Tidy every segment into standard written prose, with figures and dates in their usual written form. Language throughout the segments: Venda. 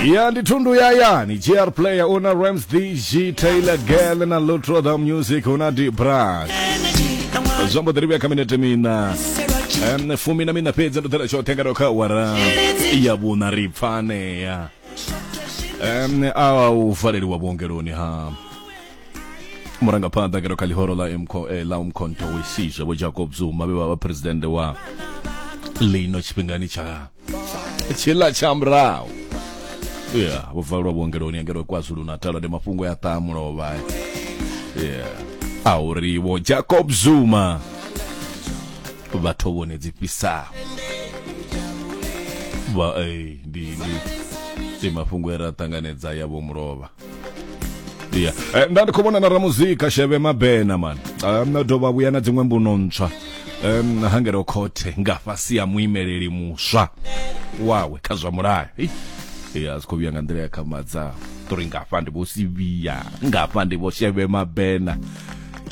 Ya ndi thundu ya yani GR player una Rams DG Taylor Girl na Lutro the Music una D Brass. Zwo mbo ḓi ri vhuya kha minete mina 14 fhedzi ndo ḓela tshoṱhe nga kha awara ya vhuṋa ri pfanea a u valeliwa vhuongeloni ha murangaphanḓa ngeno kha ḽihoro ḽa ḽa Umkhonto we Sizwe Vho Jacob Zuma vhe vha vha president wa lino tshifhingani tsha tshiḽa tsha murahu ya vho valelwa vhuongeloni ngeno KwaZulu Natal ndi mafhungo ya ṱaha mulovha ya a uri vho Jacob Zuma vha thovhoni dzi fhisaho vha ndi ndi ndi mafhungo e ra ṱanganedza ya vho mulovha ya nda ndi khou vhona na ramuzika Sheve Mabena man na dovha vhuya na dziṅwe mbuno ntswa hangelo khothe nga fhasi ya muimeleli muswa wawe kha zwa mulayo ya zwi khou vhuya nga nḓila ya khamadza uri ngafha ndi vho Sivhiya ngafha ndi vho Sheve Mabena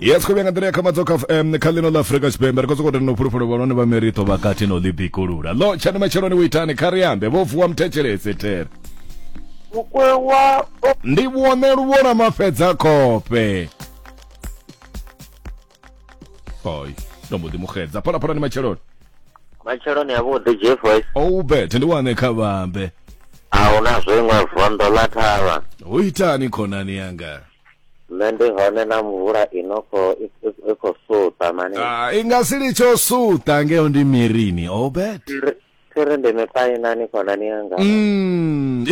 ya zwi khou vhuya nga nḓila ya khamadzo kha kha ḽino ḽa Afrika Tshipembe ri khou sokou tenda u fhulufhela vhahulwane vha Merito vha kati no ḽi bikulula ḽo tshani matsheloni u itani kha ri ambe vho vuwa muthetshelese there Mukwewa o ndi vhone luvhona mafhedza khofhe oi ndo mbo ḓi muxedza phalaphala ni matsheloni Matsheloni avhuḓi G Voice. Obert ndi wane kha vhambe A hu na zwiṅwe vondo ḽa thavha. Hu itani khonani yanga? Nṋe ndi hone na mvula ino kho i khou suṱa mani. Ah, i nga si litsho suṱa ngeo ndi mirini Obert. Thiri ndi mipainani khonani yanga.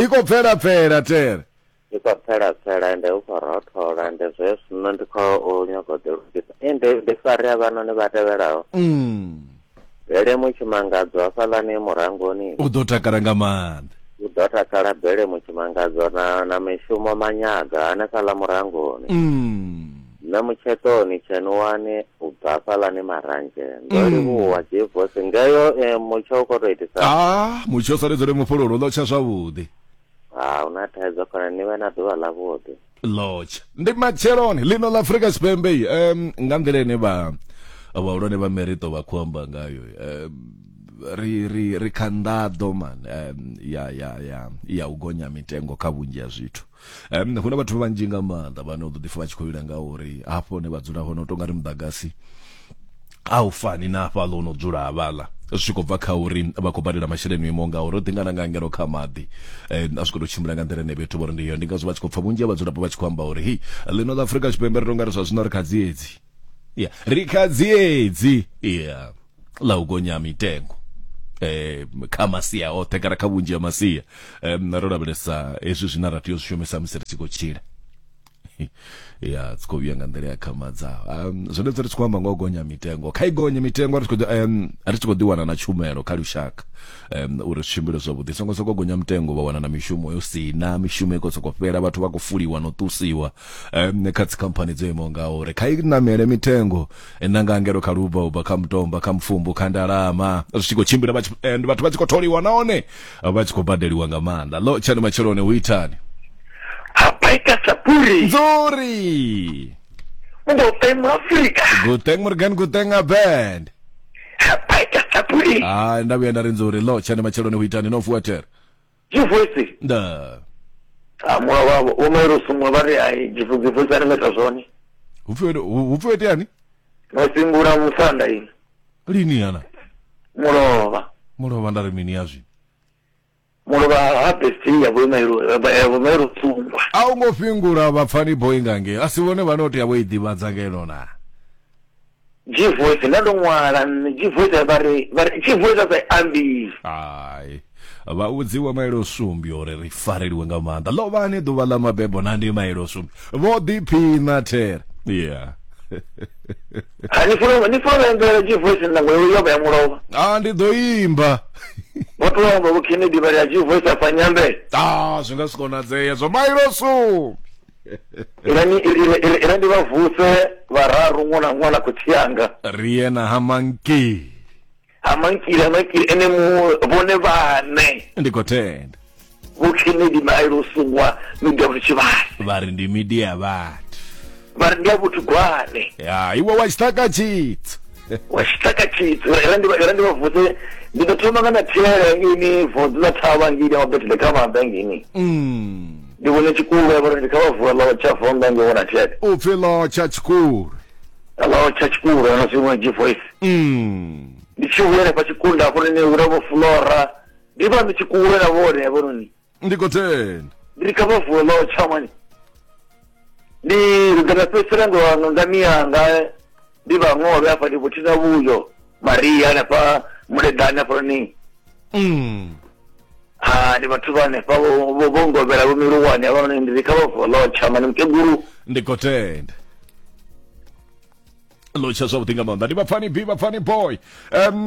I khou pfela pfela tere. I khou pfela pfela ende hu khou rothola ende zwe zwino ndi khou nyaga u ḓilugisa. Ende ndi fare havhanoni vha tevhelaho. Bele Mutshimangadzo hafhaḽani murangoni. U ḓo takala nga maanḓa. U ḓo takala Bele Mutshimangadzo na na mishumo Manyaga hanefhaḽa murangoni. Nṋe Mutshetoni Tshenuwani u bva hafhaḽani Maranzhe. Ndo livhuwa G-Voice ngeyo mutsho u khou tou itisa. Ah, mutsho u saledzele mufhululu ḽo tsha zwavhuḓi. A hu na thaidzo khonani, ni vhe na ḓuvha ḽavhuḓi. Lotsha. Ndi matsheloni ḽino ḽa Afrika Tshipembe nga nḓila ine vha vhahulwane vha Merito vha khou amba ngayo ri ri ri kha nḓaḓo man ya ya ya ya u gonya mitengo kha vhunzhi ha zwithu. Hu na vhathu vhanzhi nga maanḓa vhane u ḓo ḓipfa vha tshi khou lila nga uri hafho hune vha dzula hone u tonga ri muḓagasi a u fani na hafhaḽa no dzula havhaḽa zwi tshi khou bva kha uri vha khou badela masheleni o imaho nga uri o ḓingana nga ngeno kha maḓi a zwi khou tou tshimbila nga nḓila ine vhethu vho ri ndi yo ndi ngazwo vha tshi khou pfa vhunzhi ha vhadzulapo vha tshi khou amba uri hei ḽino ḽa Afrika Tshipembe ri tonga ri zwa zwino ri kha dziedzi ya ri kha dziedzi ya ḽa u gonya mitengo kha masia oṱhe kana kha vhunzhi ha masia ro lavhelesa hezwi zwine ra tea u zwi shumisa musi ri tshi khou tshila ya tshi khou vhuya nga nḓila ya khamadzaho zwone ri tshi khou amba nga u gonya mitengo kha i gonye mitengo ri tshi khou ri tshi khou ḓi wana na tshumelo kha lushaka uri zwi tshimbile zwavhuḓi songo soko gonya mitengo vha wana na mishumo yo sina mishumo i khou soko fhela vhathu vha khou fuliwa no ṱusiwa kha dzikhamphani dzo imaho nga uri kha i namele mitengo na nga ngelo kha lubva ubva kha mutomba kha mufumbu kha ndalama zwi tshi khou tshimbila vhathu vha tshi khou tholiwa nahone vha tshi khou badeliwa nga maanḓa ḽo tshani matsheloni hu itani Hapaika Sapuri. Nzuri. Guteng Afrika. Guteng Morgan Guteng Abend. Hapaika Sapuri. Ah, nda vhuya nda ri nzuri ḽo tshani matsheloni hu itani no fuwa there. Jivoisi. Nda. Ah, mwa wa wo mairo sumwa vha ri ai jivoisi ani meta zwone. Hupfi hupfi itani? No singula musanda ini. Lini yana? Mulovha. Mulovha nda ri mini ya zwino? Mulovha ha besti ya vho mairo ya vho mairo sungwa. A u ngo fhingula vhapfani boy nga ngei. A si vhone vhane o tea vho i ḓivhadza ngeno na. G voice nda ndo ṅwala nṋe G voice vha ri vha ri G voice a sa ambi. Hai. Vha vhudziwa mailo sumbi uri ri fareliwe nga maanḓa. Ḽo vha ni ḓuvha ḽa mabebo na ndi mailo sumbi. Vho ḓiphina there. Yeah. Ha ni funa ni funa imbela G voice ndango yo vha ya mulovha. Ah ndi ḓo imba. Vho to amba vho Kennedy vha ri a G voice a fa nyambe. Ah zwi nga si konadzee zwo mailo sumbi. Irani ira ndi vha vuse vhararu ṅwana ṅwana khotsi yanga. Ri ye na ha Manki. Ha Mankile ha Mankile ene mu vhone vhane. Ndi khou tenda. Vho Kennedy Mailo Sungwa media vhuthu tshivhase. Vha ri ndi media vhathu. Vha ri ndi ya vhuthu gwane. Ya iwe wa tshiṱaka tshitsu. Wa tshitaka tshitsu ra ndi ra ndi vha vuse ndi ḓo thoma nga na thele ngini vodzo ḽa thavha ngini wa betele kha maanḓa ngini. Ndi vhone tshikulu ya vhori ndi kha vha vuwa ḽo tsha vonda nge vhona thele. U pfi ḽo tsha tshikulu. Ḽo tsha tshikulu na zwiṅwe G voice. Ndi tshi vhuya hanefha tshikunda hafho ni huna vho Flora. Ndi vha ndi tshikulu na vhone hafhanoni. Ndi khou tenda. Ndi kha vha vuwe ḽo tsha mani. Ndi ḓo nda fhedzisela nga nga miyanga ndi vha ṅovhe hafha ndi vho thina vhuyo Maria hanefha Muleḓane hafhanoni. Ha ndi vhathu vha hanefha vho vho ngovhela vho miluwane hafhanoni ndi kha vha vuwe ḽo tsha mani mukegulu. Ndi khou tenda. Lotsha zwavhuḓi nga maanḓa ndi vhapfani b vhapfani boy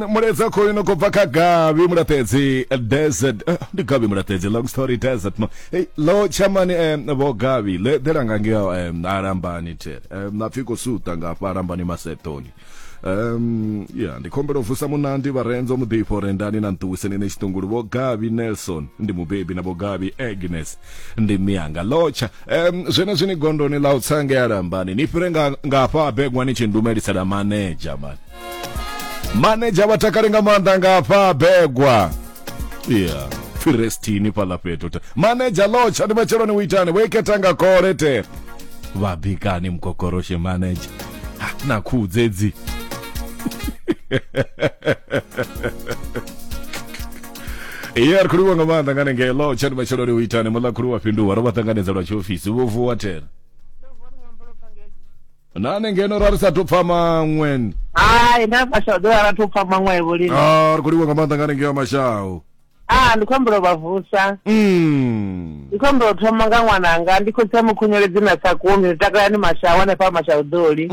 mulaedza khoyu no khou bva kha gavi mulaṱedzi desert ndi gavi mulaṱedzi long story desert no hey, lotsha mani vho gavi le ḓela nga ngeo alambani there na pfi khou suta nga hafha alambani masetoni ya ndi khombela u vusa munandi vharenzo muḓifho rendani na nṱuwiseni ne tshiṱungulu vho gavi nelson ndi mubebi na vho gavi agnes ndi mianga lotsha zwenezwi ni gondoni ḽa u tsa ngea lambani ni fhire nga nga hafha begwa ni tshi ndumelisela manedzha mani manedzha vha takale nga maanḓa nga hafha begwa ya firestini fhaḽa fhethu manedzha lotsha ndi matsheloni u itani vho ikhetha nga kole te vha bikani mukokoroshe manedzha na khuhu dzedzi Iya ri khou livhuwa nga maanḓa nga hanengei lo tshani matsheloni u itani muḽa khulu wa fhinduwa ro vha ṱanganedza lwa tshiofisi vho vuwa thera na hanengei ra ri sa thu pfa maṅwe Hai nda mashawu ḓo ra thu pfa maṅwe vho lini. Ah, ri khou livhuwa nga maanḓa nga hanengei wa mashawu Ah, ndi khou humbela u vha vusa. Ndi khou humbela u thoma nga ṅwananga, ndi khotsi a Mukhunyeledzi na Sakumi, ndi takalani Mashawu hanefha Mashawu Ḓoli.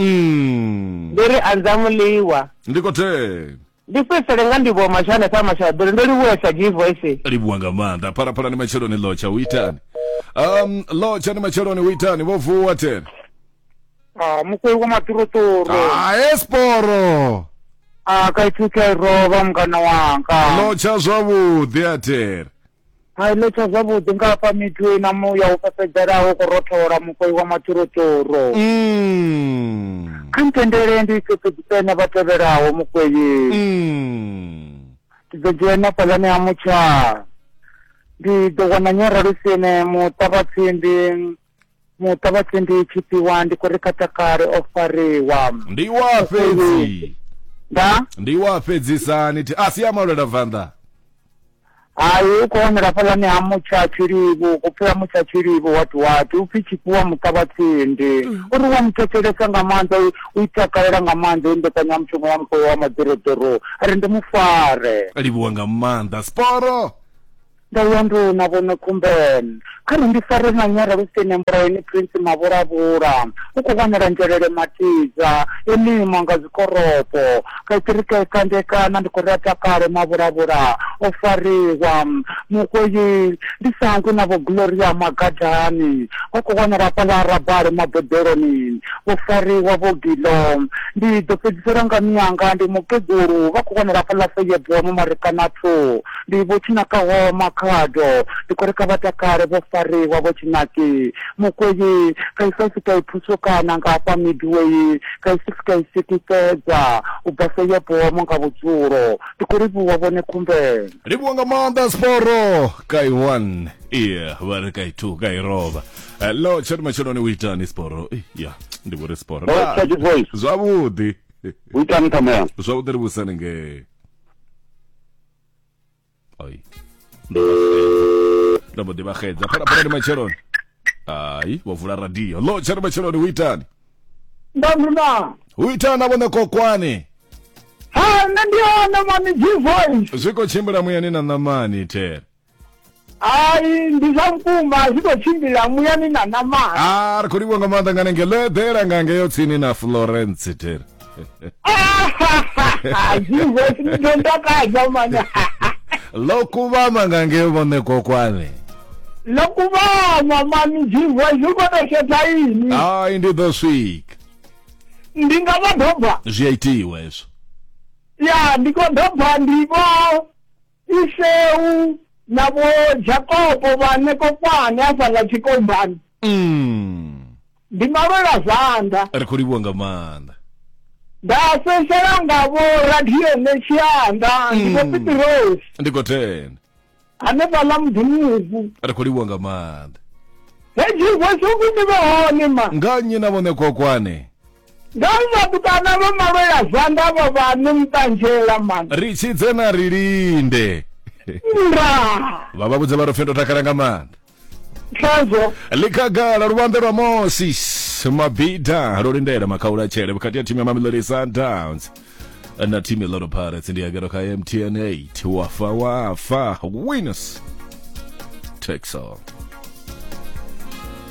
Ndi ri anza muḽiwa. Ndi khou tenda. Ndi fhedzisele nga ndivhuwo Mashawu hanefha Mashawu Ḓoli, ndo livhuwesa G-Voice. Livhuwa nga maanḓa. Phalaphala ndi matsheloni lotsha u itani? Lotsha ndi matsheloni u itani? Vho vuwa tena. Ah, mukwei wa maturuturu. Ah, esporo. Ah, ka ipfi rovha mungana wanga. Lotsha zwavhuḓi atere. Hai lotsha zwavhuḓi nga hafha mithu na muya u fhefhedzelaho ku rothola mukwei wa maturuturu. Kha ntendele ndi fhefhedzise na vha tevhelaho mukwei. Ndi ḓo dzhena fhaḽani ha mutsha. Ndi ḓo wana nyora lusine muṱavhatsimbi. Muṱa vha tsendi tshifhiwa ndi khou ri kha takale o fariwa. Ndi wa fhedzi. Nda? Ndi wa fhedzisani thi a si ya malwela vanḓa. Hai u khou wanala fhaḽani ha mutsha tshilivhu ku pfi ha mutsha tshilivhu wati wati u pfi tshifhiwa muṱa vha tsendi. Uri wa muthetshelesa nga maanḓa u i takalela nga maanḓa i mbekanyamushumo ya mukoyo wa maḓoroḓoro a ri ndi mufare. Livhuwa nga maanḓa sporo. Nda ya nduna vhone Khumbelo. Kha ri ndi fare na nyora lusini Mbulayeni Prince Mavhulavhula. U khou wanala Nzhelele Matiza, Elima nga zwikoropo. Kaitiri kandekana ndi khou ri a takale Mavhulavhula o fariwa. Mukweyi ndi sangwi na Vho Gloria Magadani vha khou wanala hafhaḽa Rabale Maboḓeloni. Vho fariwa Vho Gilo. Ndi ḓo fhedzisela nga miyanga ndi mukegulu vha khou wanala hafhaḽa Feyebomo Marikana 2. Ndi Vho Tshinakaho Makhado, ndi khou ri kha vha takale vho fariwa Vho Tshinaki. Mukweyi, Kaisasi Kaiphusukana nga hafha Midway, Kaisisi Kaisiki Fhedza, u bva Seyebomo nga vhudzulo. Ndi khou livhuwa vhone Khumbelo. Livhuwa nga maanḓa Sporo kai 1 iya vha ri kai 2 kai rovha. Hello tshani matsheloni u itani Sporo? Ya ndi vho ri Sporo. Zwavhuḓi. U itani Thamea? Zwavhuḓi ri vhusani ngei. Oi. Ndo mbo ḓi vha xedza. Phalaphala ndi matsheloni. Ai, vho vula radio. Lo tshani matsheloni u itani? Ndanduna. U itani vhone kokwani? Ha, nṋe ndi hone mani G voice. Zwi khou tshimbila muyani na ṋamani there. Hai, ndi zwa vhukuma zwi khou tshimbila muyani na ṋamani. Ah, ri khou livhuwa nga maanḓa nga nenge ḽo eḓela nga ngeyo tsini na Florence there. G voice ni ḓo ntakadza mani. Ḽo kuvhama nga ngeyo vhone kokwane. Ḽo kuvhama mani G voice u khou tou shetha ini. Hai, ndi ḓo swika. Ndi nga vha doba. Zwi a itiwa hezwo. Ya, ndi khou doba ndi vho Iseu na vho Jakopo vhane kokwane hafhaḽa tshikombani. Ndi malwela zwanḓa. Ri khou livhuwa nga maanḓa. Nda fhedzisela nga vho radio Netshianda, ndi vho Pitirosi. Ndi khou tenda. Hanefhaḽa muḓini. Ri khou livhuwa nga maanḓa. Hedzi voice upfi ndi vhe hone ma. Nga nnyi na vhone kokwane? Nga vhatukana vha malwela zwanḓa vha vhane muṱanzhela man. Ri tshidze na ri linde. Nda. Vha vha vhudze vha ri pfi ndo takala nga maanḓa. Khazwo. Ḽikhagala luvhanḓe lwa Moses Mabhida lwo lindela makhaula tshele vhukati ha thimu ya Mamelodi Sundowns na thimu ya Orlando Pirates ndi agero kha MTN 8 wafa wafa winners takes all.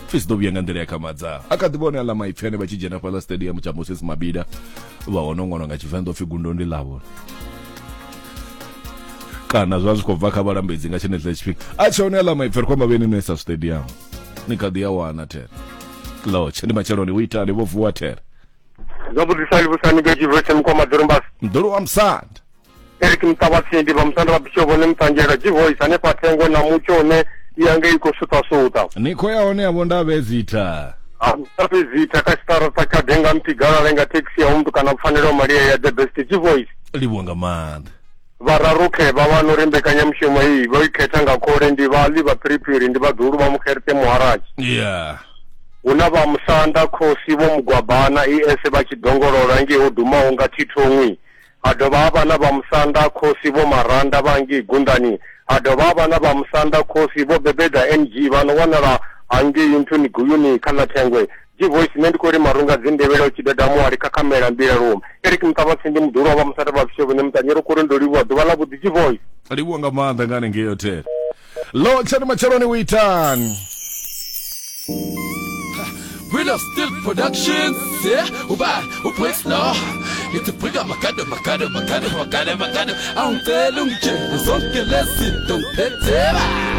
Pfi zwi ḓo vhuya nga nḓila ya khamadza a kha ḓi vhone aḽa maipfi ane vha tshi dzhena fhaḽa stadium tsha Moses Mabhida vha hone ṅwalwa nga Tshivenḓa upfi gundo ndi ḽavho kana zwa zwi khou bva kha vhalambedzi nga tshenetshiḽa tshifhinga a tshe hone aḽa maipfi ri khou amba vheni no isa stadium ni kha ḓi a wana there lotshe ndi matsheloni u itani vho vuwa there Zwavhuḓi sa livhusani ngei Tshivhese Mukoma Ḓorombasi. Mḓulu wa musanda. Eric Muṱavhatsindi vha musanda vha Bishop vhone Muṱanzhela G-Voice hanefha Thengwe na mutsho une ya ngei khou suṱa-suṱa. Ni khou ya hone avho Ndavhezitha. Ha Ndavhezitha kha tshiṱaraṱa tsha Denga Mphi Galale nga thekhisi ya Umntu kana Pfanelo Malia ya The Best G-Voice. Livhuwa nga maanḓa. Vhararu khevha vha no ri mbekanyamushumo iyi vho i khetha nga khole ndi vhaḽi vha phiriphiri ndi vhaḓuhulu vha Mukherite Muharatshi. Yeah. Hu na vha Musanda Khosi Vho Mugwabana ES vha tshi dongolola ngei ho dumaho nga Thithongwi. Ha dovha ha vha na vha Musanda Khosi Vho Maranda vha ngei Gundani. Ha dovha ha vha na vha Musanda Khosi Vho Bebeda NG vha no wanala hangei nthuni Guyuni kha ḽa Thengwe. G-Voice nṋe ndi khou ri marunga dzi ndevhela u tshi deda muhali khakhamela mbila lume. Eric Muṱavhatsindi muḓulu wa vha Musanda vha Vhusevhe nṋe Muṱanyi ro khou ri ndo livhuwa ḓuvha ḽa vhuḓi G-Voice. Livhuwa nga maanḓa nga hanengei hotel. Lotsha ndi matsheloni u itani. We love Still Productions, yeah. Uba, uBricks no. Ngithi brika makado makado makado makado makado. Awungicela ungitshele zonke lezi zinto ngiphethe.